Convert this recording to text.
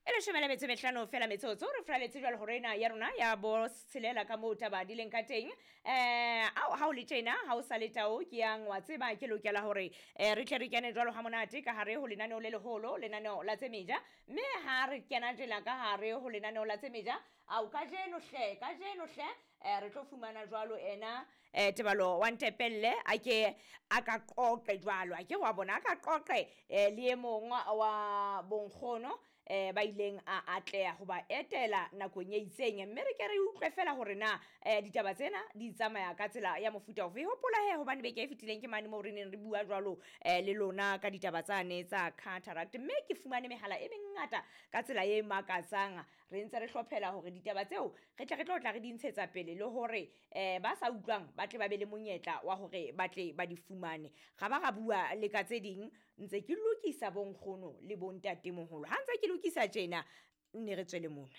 E leshome le metso e mehlano fela metsotso re fraletse jwalo hore ena ya rona ya bo tshelela ka moo taba di leng ka teng. Ao ha o le tjena ha o sa le tao ke yang wa tseba ke lokela hore re tle re kene jwalo ha monate ka hare ho lenaneo le leholo, lenaneo la tse meja. Mme ha re kena tjena ka hare ho lenaneo la tse meja, ao kajeno hle, kajeno hle, re tlo fumana jwalo ena Tebalo wa Ntepelle a ke a ka qoqe jwalo, a ke wa bona a ka qoqe le e mong wa bonkgono ba ileng a atleha ho ba etela nakong e itseng, mme re ke re utlwe fela hore na ditaba tsena di tsamaya ka tsela ya mofuta ofe. Hopola he hobane beke e fetileng ke mane moo re neng re bua jwalo le lona ka ditaba tsane tsa cataract, mme ke fumane mehala e mengata ka tsela e makatsang. Re ntse re hlophela hore ditaba tseo re tle re tlo tla re di ntshetsa pele le hore ba sa utlwang ba tle ba be le monyetla wa hore ba tle ba di fumane. Ra ba ra bua le ka tse ding, ntse ke lokisa bonkgono le bontatemoholo. Ha ntse ke lokisa tjena, nne re tswele mona.